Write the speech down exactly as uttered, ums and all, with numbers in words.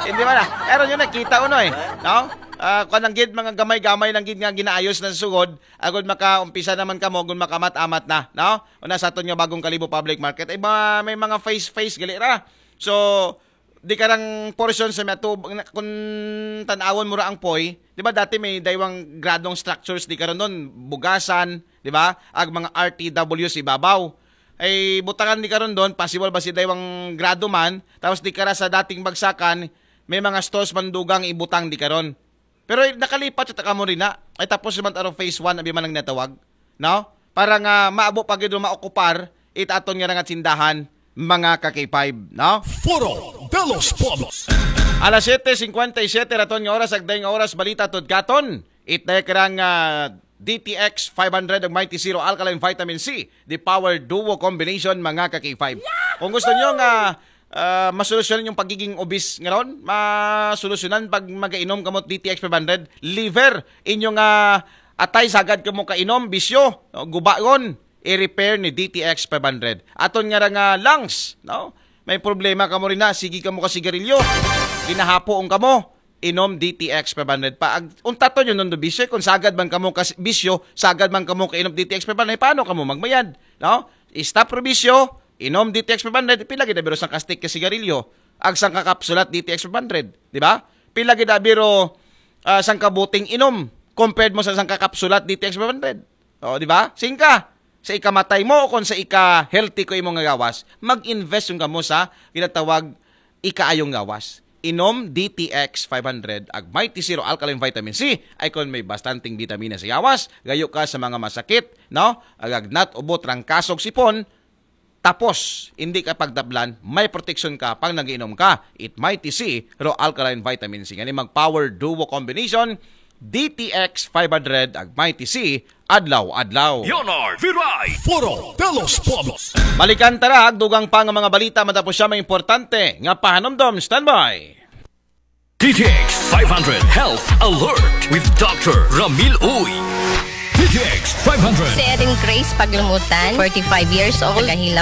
Hindi ba na? Pero yun nakita uno eh. No? Ah, kung ang gid, mga gamay-gamay lang gid nga ginaayos na sa sugod, agud makaumpisa naman kamo, agud makamat-amat na, no? Una sa aton nga bagong Kalibo Public Market, ay ba, may mga phase-phase gali ra. So, di karang portion sa may atubang, kung tanawon mo ra ang poy, di ba dati may daywang gradong structures di karon doon, bugasan, di ba? Ag mga R T W sa ibabaw. Ay butangan di karon doon, possible ba si daywang grado man, tapos di kara sa dating bagsakan, may mga stores man dugang ibutang di karon. Pero nakalipat sa takamo rin na, ay tapos naman arong phase one, abi man ang natawag, no? Para nga maabo pa gid maokupar itaton nga nga tindahan, mga ka-K five, no? Foro de los Pueblos. Alas siyete singkwenta y siyete raton nga oras, agday nga oras, balita tod katon. Itday karang ah, D T X five hundred ug Mighty Zero Alkaline Vitamin C, the power duo combination, mga ka-K five. Kung gusto nyo nga ah, masolusyonan yung pagiging obese nga ron, masolusyonan pag magainom kamo D T X five hundred, liver, inyong ah, atay sagad kamo kainom, bisyo, no? Gubaon, i-repair ni D T X five hundred. Aton nga ra nga lungs, no? May problema kamo rin na, sige kamo ka sigarilyo, ginahapoon kamo, inom D T X five hundred pa. Ag, untaton yun nung bisyo, kung sagad man kamo kas bisyo, sagad man kamo kainom D T X five hundred, paano kamo magmayad? No? Stop ro bisyo, inom D T X five hundred, pila gid na biro sang kastik ka sigarilyo, ag sang kakapsulat D T X five hundred, di ba? Pila gid na biro ah, sang kabuting inom compared mo sa sang kakapsulat D T X five hundred. O, di ba? Singka, sa ikamatay mo o kung sa ika-healthy ko imong nga gawas, mag-invest yung kamo sa ginatawag ikaayong gawas. Inom D T X five hundred ag Mighty Zero Alkaline Vitamin C ay kung may bastanteng bitamina sa gawas, gayo ka sa mga masakit, no? Agagnat, ubo, trangkaso, sipon, tapos, hindi ka pagtablan, may proteksyon ka pag nagiinom ka. It Mighty C, Raw Alkaline Vitamin C. Ngani mag-power duo combination, D T X five hundred ag Mighty C, adlaw-adlaw. Leonard Viray. Foro de los Pueblos. Balikan tara, dugang pa nga mga balita, matapos siya may importante nga pahanumdom. Standby! D T X five hundred Health Alert with Doctor Ramil Uy. D T X five hundred. Si Erin Grace Paglumutan, forty-five years old, taga Hilam,